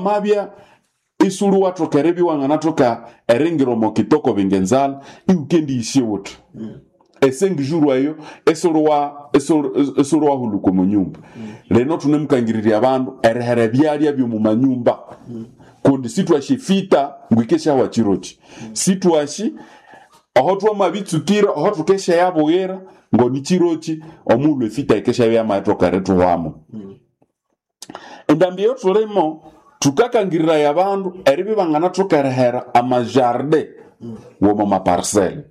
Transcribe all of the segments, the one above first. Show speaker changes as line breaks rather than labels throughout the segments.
Wamabya isuli wathoka eribya iwanganathoka eringira omo kitoko bingenzala, iwukendiyisya wuthi esengijuru eyo isuli wahuluka omo nyumba. Lino thunemukangirirya abandu erihera ebyalya byomu manyumba, kundi sitwashi efita ngwikesyawa kiroki, sitwashi oho twamabitsukira oho thukesyayabughira ngoni kiroki omughulhu efita yikeshyabya yamayithoka erithuhwamu. Endambi eyothulimo thukakangiriraya abandu eribya ibanganathoka erihera amajardin w'omo maparcelle.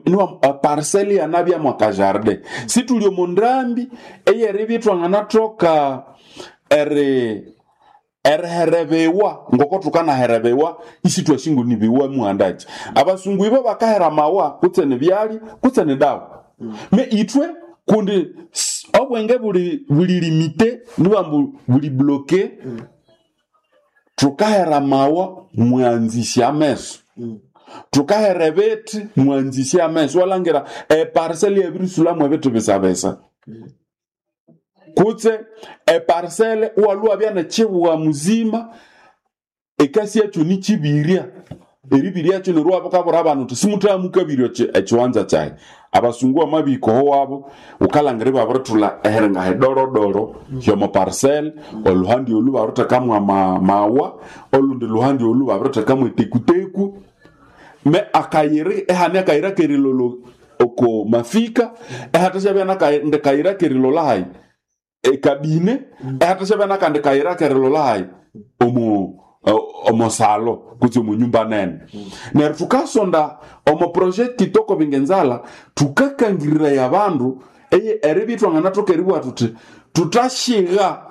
Niwa parcelle yanabyamu akajardin. Sithuli omo ndambi eyeribya ithwanganathoka eriherebewa ngoko thukanaherebewa isithwasi ngo nibiwa muhandaki. Abasungu ibo bakahera amawa kutse nibyalya kutse nidawa. Me ithwe kundi obwenge buli buli limité, niwambu buli bloqué, thukahera amawa mwanzisya ameso. Thukahera ebithi mwanzisya ameso. Iwalangira eparcelle yabirisulhamu ebithi bisabisa. Kutse eparcelle iwalhwa iwabya nekyibugha muzima, ekasi yakyo nikyibirya. Eribiryakyo neryo iwabukabwira abana wuthi simuthamukabirya ekiwanza kyayi. Abasungu bamabihika oho wabo, wukalhangira ibabirithulha ehiringa hidorodoro hyomo parcelle, olhuhandi olhu babirithekamu amawa, olundi luhandi olhu babirithekamu etekuteku. Me akayira ihane akayira akerilolha oko mafika, ihathasyabya nakandi kayira akerilolha hayi ekabine, ihathasyabya nakandi kayira akerilolha hayi omo omosalo kutse omo nyumba nene. Neryo thukasonda omo project Kitoko Bingenzala, thukakangiriraya abandu eribya ithwanganathoka eribugha thuthi thuthashigha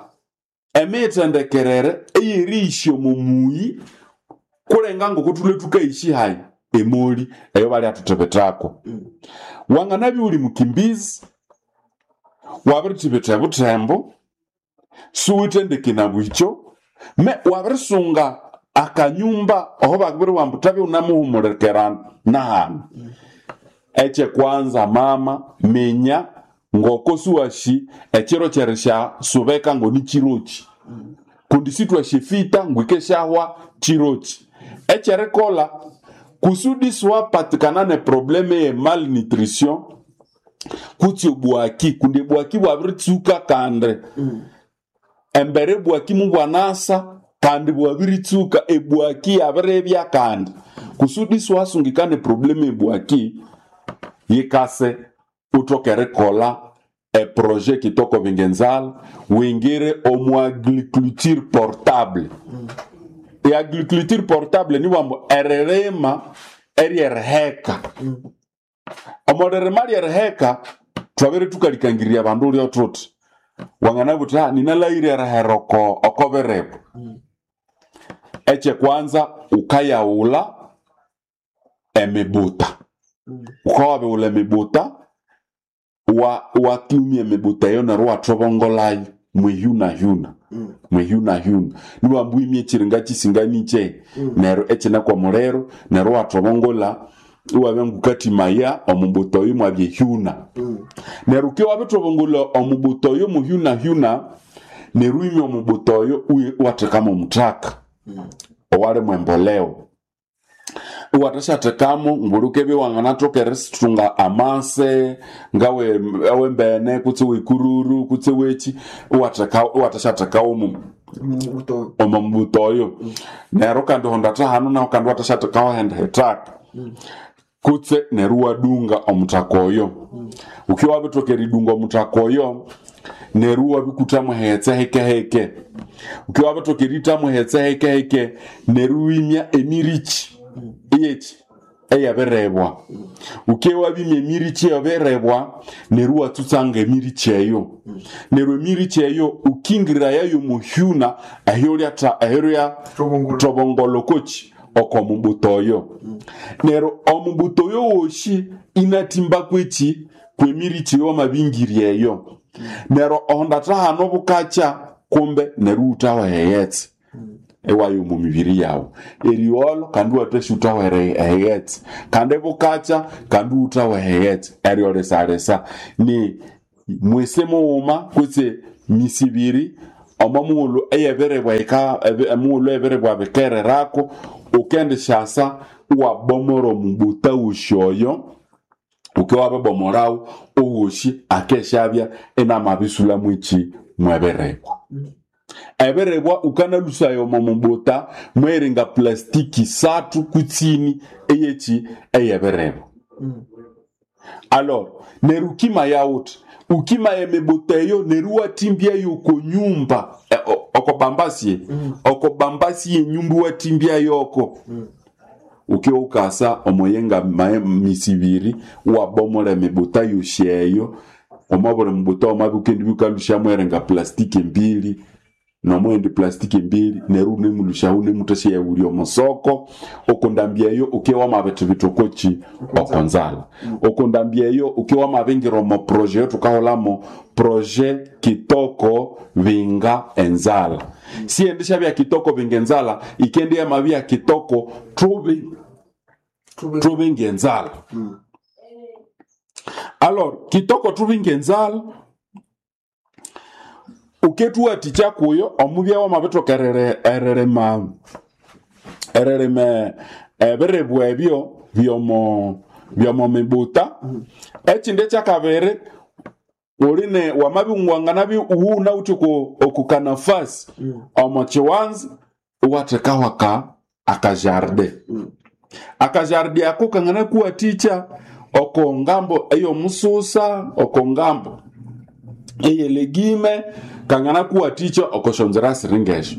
emithendekerere eyeriyisya omo muyi kulenga ngoko thulwe thukayisya hayi emoli eyo balyathithibithako. Wanganabya iwuli mukimbizi, wabirithibitha ebuthembo, siwithe ndeke nabwikyo, me wabirisunga akanyumba oho bakabiribugha ambu thabya wunamuhumulikera nahanu. Ekyekwanza mama, minya ngoko siwasi ekiro kyerisyasubeka ngonikiroki, kundi sithwasi efita ngwikesyahwa kiroki. Ekyerikolha kusudi siwapatikana ne probleme ye malnutrition kutse obwaki, kundi obwaki bwabiritsuka kandi embere ebwaki mubwanasa kandi bwabiritsuka ebwaki yabiribya kandi kusudi siwasungikana eprobleme ebwaki, yikase uthoke erikolha eprojet Kitoko Bingenzala, wingire omu agriculture portable. E agriculture portable niwambu eririma eryeriheka. Omo ririma lyeriheka thwabere thukalikangirya abandu ulya thuthi wanganabugha wuthi ninalhaghire erihera oko biribu. Ekyekwanza wukayaghulha emibuta. Wukabya wabighulha emibuta, wakyumya emibuta eyo neryo iwathobongolayo mwihyunahyuna, mwihyunahyuna. Niwambu wimye ekiringa kisinganikye neryo ekine kwomuliro neryo iwathobongola iwabya ngukathimaya omubuta oyo mwabya ehyuna. Neryo wukibya wabithobongola omubuta oyo muhyunahyuna, neryo wimya omubuta oyo iwathekamu omuthaka owalimu emboleo. Iwathasyathekamu nguli wukibya iwanganathoka erithunga amase ngawe awembene kutse wekururu kutse weki, iwathasyathekawo omo mubuta oyo. Neryo kandi honda thahanu nahu kandi iwathasyathekawo ahandi hithaka kutse neryo iwadunga omuthaka oyo. Wukibya wabithoka eridunga omuthaka oyo, neryo iwabikuthamu eghetse hekeheke. Wukibya wabithoka erithamu eghetse hekeheke, neryo iwimya emiriki eyeki eyabirebwa. Wukibya wabimya emiriki eyabirebwa, neryo iwatsutsanga emiriki eyo. Neryo emiriki eyo wukingirayayo omuhyuna ehyolya thobongola okoki oko mubuta oyo. Neryo omubuta oyo wosi inathimba kweki kwemiriki eyawamabingirya eyo. Neryo ohonda thahano bukakya kumbe neryo iwuthawa eghetse iwaya omo mibiri yawu. Erigholo kandi iwathasya iwuthawa eghetse, kandi bukakya kandi iwuthawa eghetse. Eryo lisalisa ni mwisi mughuma kutse misi ibiri Omo mughulhu eyebirebwa emughulhu ebirebwa bikererako, ukendishasa iwabomora omubuta wosi oyo. Uke wabibomolawo owosi, akeshabya inamabisulhamu eki mwebirebwa. Ebirebwa ukanalusaya omo mubuta mweringa plastiki sathu kutsini eyeki eyebirebwa. Alors neryo ukimaya wuthi ukimaya emibuta eyo, neryo iwathimbyayo oko nyumba, okobambasi, okobambasi yenyumba iwathimbyayo. Uke ukasa omoyenga misi ibiri iwabomora emibuta yosi eyo. Omo buli mubuta wamabya wukendibya wukalusyamu eringa plastiki mbili nomughindi plastiki mbili, neryo wunemulusyahu wunemuthasyayaghulya omusoko. Okundambi eyo uke wamabithibitha okoki okonzalha. Okundambi eyo uke wamabingira omo projet eyothukahulhamu projet Kitoko Binga Enzalha. Siyendishabya Kitoko Binga Enzalha, ikendi yamabya Kitoko Thubi Thubinga Enzalha. Alors Kitoko Thubinga Enzalha ukethuwathikya kuyo omubya wamabithoka eririma ebirebwa ebyo byomo mibuta. Ekindi ekyakabiri, uline wamabya wanganabya iwunawithe oku kanafasi omo kiwanza, iwathekaho akajardin. Akajardin ako kanganakuwathikya oko ngambo eyomususa, oko ngambo eyelegime, kanganakuwathikya oko syonzira siringesyo.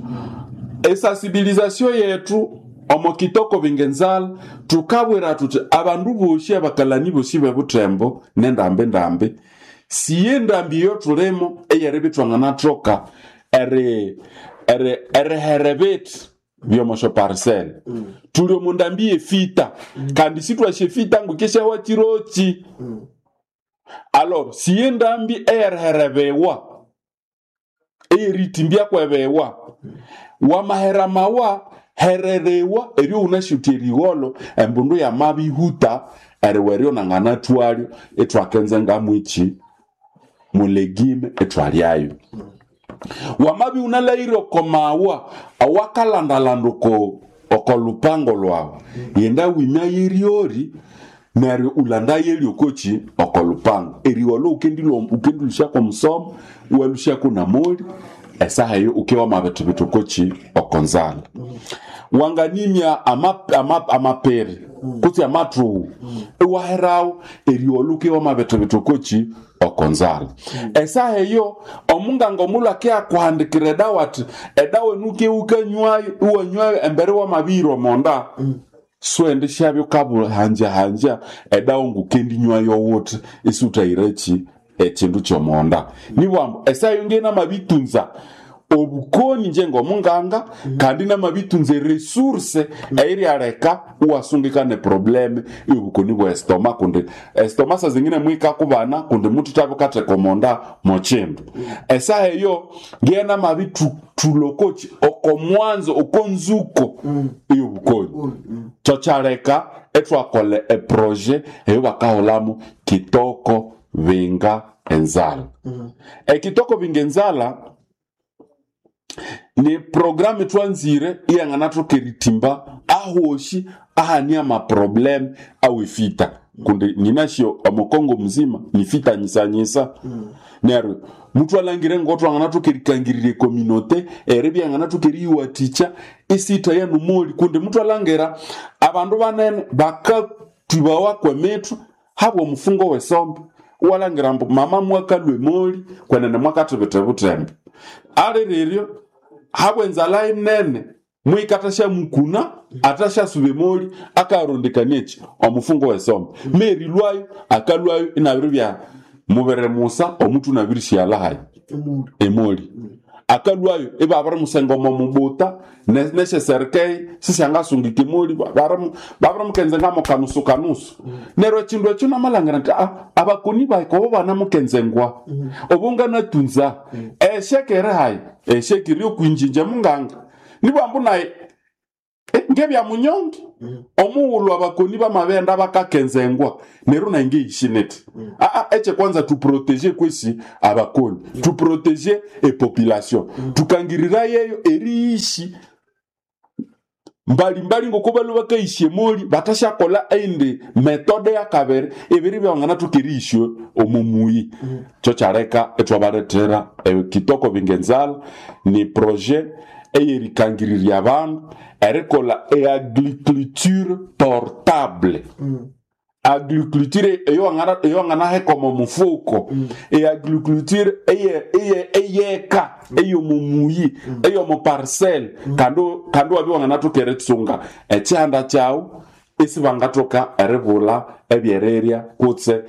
Esensibilisation yethu omo Kitoko Binga Enzalha, thukabwira thuthi abandu bosi, abakalani bosi bebuthembo nendambi ndambi, siye ndambi eyothulimo eyeribya ithwanganathoka erihera ebithi byomo syo parcelle. Thuli omu ndambi yefita, kandi sithwasi efita ngukisyawa kiroki. Alors siye ndambi eyeriherebewa, eyeritimbya kwebewa. Wamahera mawa hererewa eryo wunasyothi erigholho embundu yamabihuta eriwa eryo nanganathwalyo, ithwakenza ngamwiki mulegime ithwalyayo. Wamabya wunalhaghire oko mawa awakalandalanda oko lupango lwawu, yenda wimya yeryori neryo ulandaye lyokoki oko lupango. Erigholho wukendilusyaku omusomo, iwalusyaku namoli. Esaha eyo uke wamabithibitha okoki okonzalha. Wanganimya amapere kutse amathughu, iwaherawo erigholho uke wamabithibitha okoki okonzalha. Esaha eyo omunganga omulhu akiyakuhandikira edawa athi edawa enu uke wukanywayo, iwanywayo embere wamabihira omonda. Siwendishabya wukabuhanjahanja edawa ngukendinywayo wuthi isiwuthahireki ekindu kyomonda. Nibwambu esaha eyo ngiye namabitunza obukoni inje ngomunganga, kandi namabitunza eresource eyiryaleka iwasungikana eproblem eyobukoni bwe estoma, kundi estoma saa zingine mwikakubana kundi muthuthabya wukatheka omonda mokindu. Esaha eyo ngiye namabithulokoki oko mwanzo okonzuko eyobukoni. Kyokyaleka ithwakolha eprojet eyobakahulhamu Kitoko Binga Enzalha. Ekitoko Binga Enzalha ni programu thwanzire iyanganathoka erithimba ahosi ahani amaproblem awefita, kundi ninasyo omukongo muzima nifita nyisanyisa. Neryo muthwalangire ngothwanganathoka erikangirira ecommunauté eribya yanganathoka eriyiwathikya isitha yanomoli, kundi muthwalangira abandu banene bakatwibawa kwemithwe habwa omufungo wesombe. Iwalangira ambu mama mwakalwa emoli kwenene mwakathibitha ebuthembo aliriryo habwa enzalha inene, mwika athashamukuna, athashasuba emoli, akarondekania eki omufungo wesombe merilwayo akalwayo inabiribya mubere musa omuthu inabirisighalha hayi emoli. Akalwayo ibabirimusenga omo mubuta nesyeserikei sisyangasungika emoli, babirimukenzenga kanusu kanusu. Neryo ekindu ekyo namalhangira nti abakoni bahika obo banamukenzengwa obo nganatunza esheke eri hayi, esheke eri okwinjinja munganga nibwambu nayi. Ngebya munyonge omughulhu abakoni bamabenda bakakenzengwa neryo nangeishi niti aa eche kwanza tuprotéger kwesi abakoni, tuprotéger epopulation, tukangirira yeyo eriishi mbalimbali ngoko balwe bakaisya emoli batasyakola eindi metode yakabiri ebiri byanganathoka eriisyo omo muyi. Kyo kyaleka ithwabalethera ekitoko bingenzala ni projet eyerikangirirya abandu erikolha eagriculture portable, agriculture eyowanganaheka omo mufuko, eagriculture eyeka eyomo muyi, eyomo parcelle, kandi kandi wabya wanganathoka eritsunga ekihanda kyawu isibangathoka eribulha ebyerirya kutse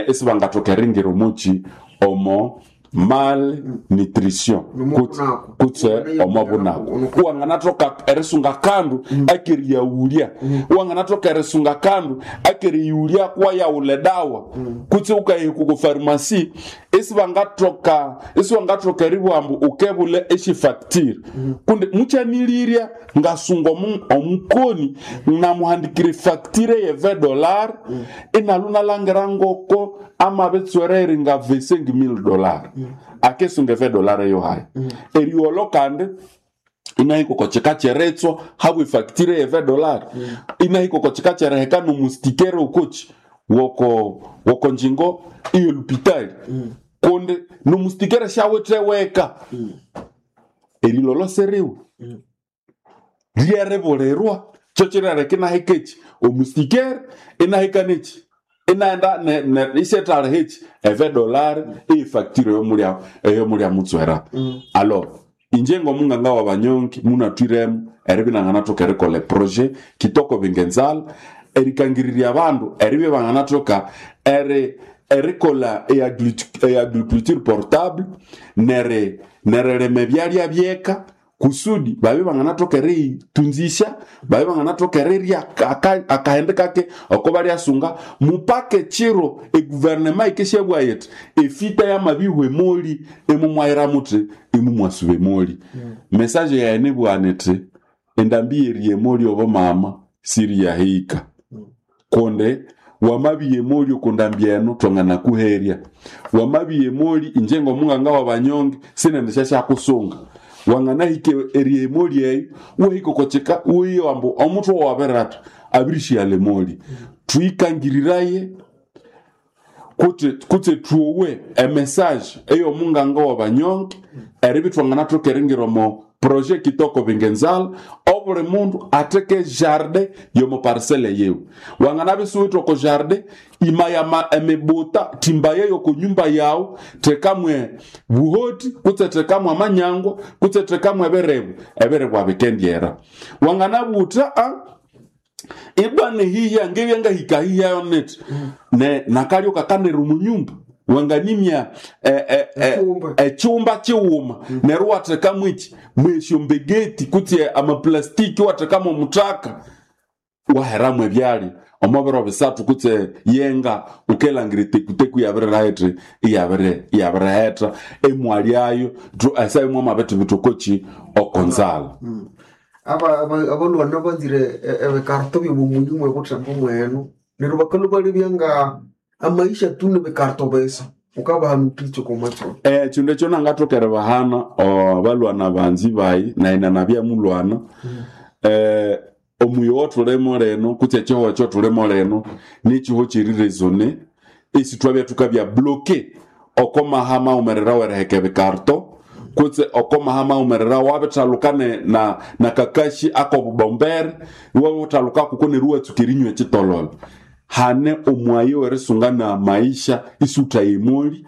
isibangathoka eringira omuki omo malnutrition
Nomo bunako.
Kutse omo bunako wanganathoka erisunga kandu akeriyawulya, wanganathoka erisunga kandu akeriyulya kuwayawula edawa kutse ukahika ku pharmacy isibangathoka eribugha ukebule eshifacture kundi muchanilirya ngasunga omukoni namuhandikira efacture ye $20 inalu nalangira ngoko amabitswera eringa $25,000 akesunga $20 eyo haya eriolo kandi inahika kochika cheretswa habwe efacture ye $20 inahika kochika chereheka nomustikere okochi woko woko njingo iyo lupitali kundi nomustikere shawithe weka eriloloseriwe lyeribulirwa kyo kirereka inahika eki omustikere inahika neki inaenda isyethalha eki $20 eyefacture eyomulya eyomulya mutswera. Alors inje ngomunganga wa banyonki munathwiremu eribya inanganathoka erikolha eprojet kitoko bingenzala erikangirirya abandu eribya banganathoka erikolha eagriculture portable neri nerilima ebyalya byeka kusudi babye banganathoka eriyitunzisya, babye banganathoka erirya akahende kake oko balyasunga mupaka ekiro eguvernema yikeshyabugha yithi efita yamabihwa emoli imumwahira muthi imumwasuba emoli. Message yayi nibugha nithi endambi yeriya emoli obo mama siriyahika kundi wamabiya emoli okundambi eno twanganakuherya, wamabiya emoli inje ngomunganga wabanyonge sinendishyasyakusunga wanganahika eriya emoli eyo wahika okochika wiye wambu omuthwe wabiratha abirishyalha emoli. Twikangiriraye kutse thuwe emessage eyomunganga wabanyonge eribya thwanganathoka eringira omo projet kitoko bingenzala obuli mundu atheke jardin yomo parcelle yiwe. Wanganabya isiwithe oko jardin imaya emibuta thimbaye yoko nyumba yawu thekamwe buhoti kutse thekamwe amanyangwa kutse thekamwe ebiribu ebiribu bikendyera. Wanganabutha a ibwa nihihya ngibya ngahika hiyayo nithi ne nakalyo kakanira omunyumba wanganimya
Ekyumba.
Ekyumba kiwuma neryo wathekamu eki mwesyombegeti kutse amaplastiki wathekamu omuthaka waheramu ebyalya omo biro bisathu kutse yenga ukelangira etekuteku iyabirirethi iyabirihetha emwalyayo esaimwe amabithibitha okoki okonzala.
Abalwana banzire ebikarto byomumuyi mwebuthembo mwenu neryo bakalhwa balebya nga amaisha tu nibikarto bisa ukabahanukicho komatso.
Ekindu ekyo nangathoka eribahana abalwana banzi bayi nayi nanabya mulwana omuyi owothulimo lino kutse ekihugho ekyothulimo lino nikihugho kyeriresone esi thwabya thukabya bloqué oko maha maghumerera weriheka ebikarto kutse oko maha maghumerera wabithaluka na kakashi akobubombere iwabithaluka kuko neryo iwatsuka erinywa ekitololo hane omwayi werisunga na maisha isiwuthaye emoli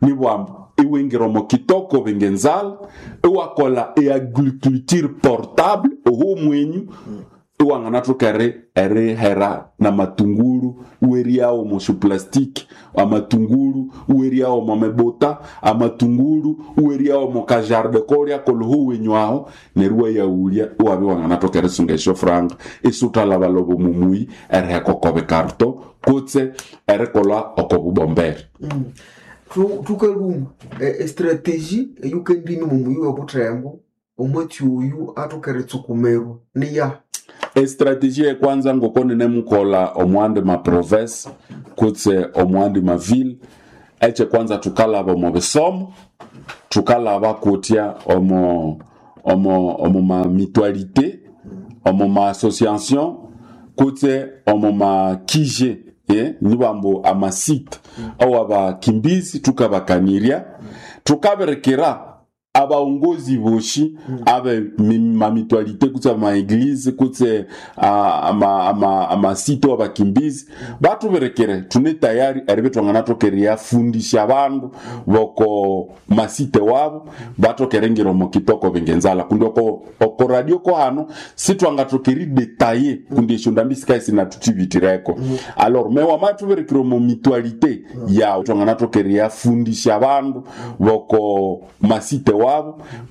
nibwamba iwingira omo kitoko bingenzala iwakolha eagriculture portable oho mwenyu iwanganathoka erihera namatunguru iweryawo omo syoplastiki amatunguru iweryawo omo mibuta amatunguru iweryawo omo kajarde kolya kolho wenyu aho neryo iwayaghulya iwabya iwanganathoka erisunga esyofuranga isiwuthalhabalhaba omo muyi eriheka oko bikarto kutse erikolha oko bubombere.
Thukalhuma estrategy eyukendimi mumuyi webuthembo omwatsi oyu athoka eritsukumirwa niyahi?
Estratégie ekwanza ngoko ninemukola omwandi ma province kutse omwandi ma ville, ekyekwanza tukalaba omo bisomo, tukalaba kutya omo ma mutualité, omo ma association kutse omo ma kije, nibambu amasite awabakimbizi tukabakanirya, tukabirikira abaongozi boshi abe mamitualité kutse amaeglise kutse amasite wabakimbizi batubirekere, tune tayari eribe twanganathoka fundisha abandu boko masite wabo bathoka ngira omo kitoko bingenzala kundi oko radio ko hano sitwangathoka eridetaye kundi esyo ndambi sikaye sinathuchibitireko. Alors me wamathubirekere omo mutualité yawu, twanganathoka eriyafundisha abandu boko masite wabo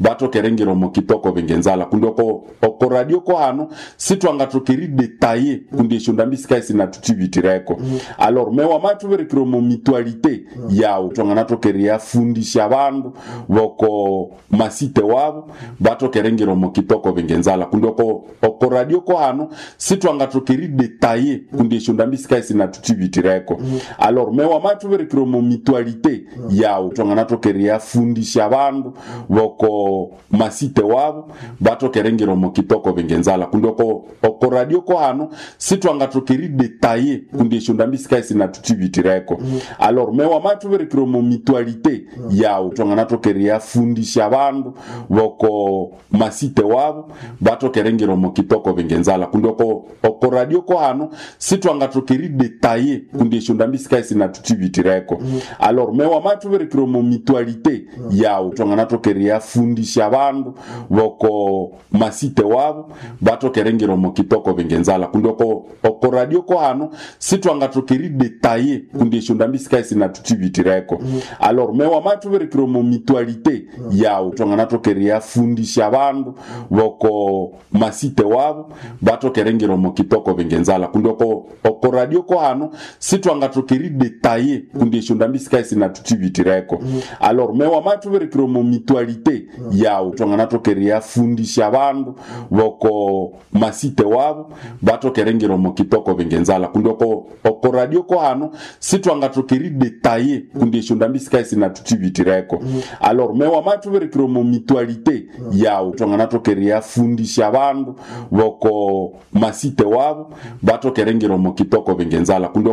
bathoka eringira omo kitoko bingenzala kundi oko radio ko hano sitwangathoka eridetaye kundi esyo ndambi sikaye sinathuchibitireko. Alors me wamathubirekere omo mutualité yawu, twanganathoka eriyafundisha abandu boko masite wabo bathoka eringira omo kitoko bingenzala kundi oko radio ko hano sitwangathoka eridetaye kundi esyo ndambi sikaye sinathuchibitireko. Alors me wamathubirekere omo mutualité yawu, twanganathoka eriyafundisha abandu boko masite wabo bathoka eringira omo kitoko bingenzala kundi oko radio ko hano sitwangathoka eridetaye kundi esyo ndambi sikaye sinathuchibitireko. Alors me wamathubirekere omo mutualité yawu, twanganathoka eriyafundisha abandu boko masite wabo bathoka eringira omo kitoko bingenzala kundi oko radio ko hano sitwangathoka eridetaye kundi esyo ndambi sikaye sinathuchibitireko. Alors me wamathubirekere omo mutualité yawu, twanganathoka eriyafundisha abandu boko masite wabo bathoka eringira omo kitoko bingenzala kundi oko radio ko hano sitwangathoka eridetaye kundi esyo ndambi sikaye sinathuchibitireko. Alors me wamathubirekere omo mutualité yawu, twanganathoka eriyafundisha abandu boko masite wabo bathoka eringira omo kitoko bingenzala kundi oko radio ko hano sitwangathoka eridetaye kundi esyo ndambi sikaye sinathuchibitireko. Alors me wamathubirekere omo mutualité yawu, twanganathoka eriyafundisha abandu boko masite wabo bathoka eringira omo kitoko bingenzala kundi oko radio ko hano sitwangathoka eridetaye kundi esyo ndambi sikaye sinathuchibitireko. Alors me wamathubirekere omo mutualité yawu, twanganathoka eriyafundisha abandu boko masite wabo bathoka eringira omo kitoko bingenzala kundi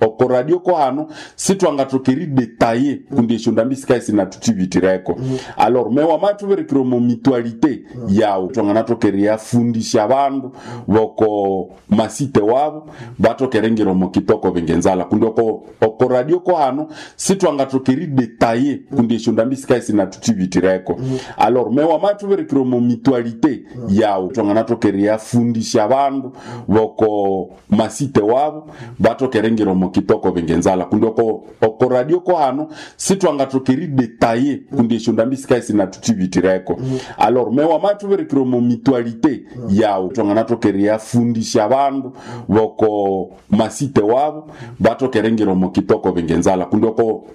oko radio ko hano sitwangathoka eridetaye kundi esyo ndambi sikaye sinathuchibitireko. Alors me wamathubirekere omo mutualité yawu, twanganathoka eriyafundisha abandu boko masite wabo bathoka eringira omo kitoko bingenzala kundi oko radio ko hano sitwangathoka eridetaye kundi esyo ndambi sikaye sinathuchibitireko. Alors me wamathubirekere omo mutualité yawu, twanganathoka eriyafundisha abandu boko masite wabo bathoka eringira omo kitoko bingenzala kundi oko radio ko hano sitwangathoka eridetaye kundi esyo ndambi sikaye sinathuchibitireko. Alors me wamathubirekere omo mutualité yawu, twanganathoka eriyafundisha abandu boko masite wabo bathoka eringira omo kitoko bingenzala kundi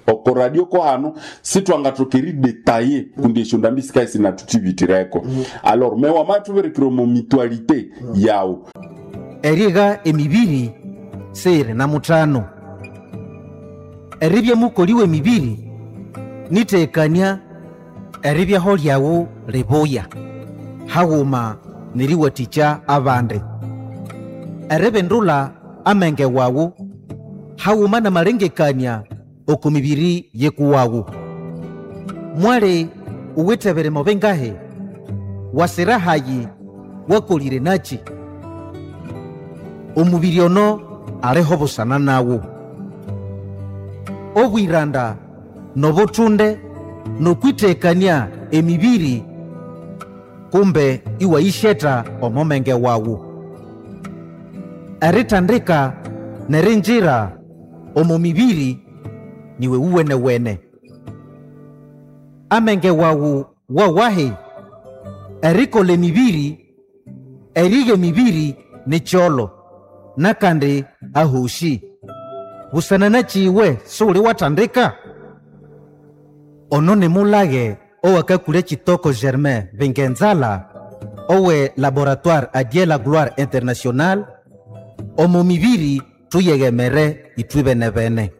oko radio ko hano sitwangathoka eridetaye kundi esyo ndambi sikaye sinathuchibitireko. Alors me wamathubirekere omo mutualité yawu.
Eriga emibiri seyiri na mutano eribya mukoli w'emibiri nitekania eribyaho lyawu libuya haghuma neriwathikya abandi eribindula amenge wawu haghuma namalengekania oko mibiri yekuwawu. Mwali uwithe birimo bingahi? Wasira hayi wakolire nachi? Omubiri ono aliho busana nawu. Obwiranda nobuthunde nokwitekania emibiri kumbe iwayisheta omomenge wawu. Eritandika nerinjira omo mibiri niwe uwenewene. Amenge wawu wawahi erikola emibiri, eriga emibiri nikyolo nakandi ahoshi. Busana nachiwe suli watandika? Ono ni mulage owakakule Kitoko Germain Bingenzala. Owe Laboratoire Adie la Gloire International, omo mibiri tuyegemere ithwe bene-bene.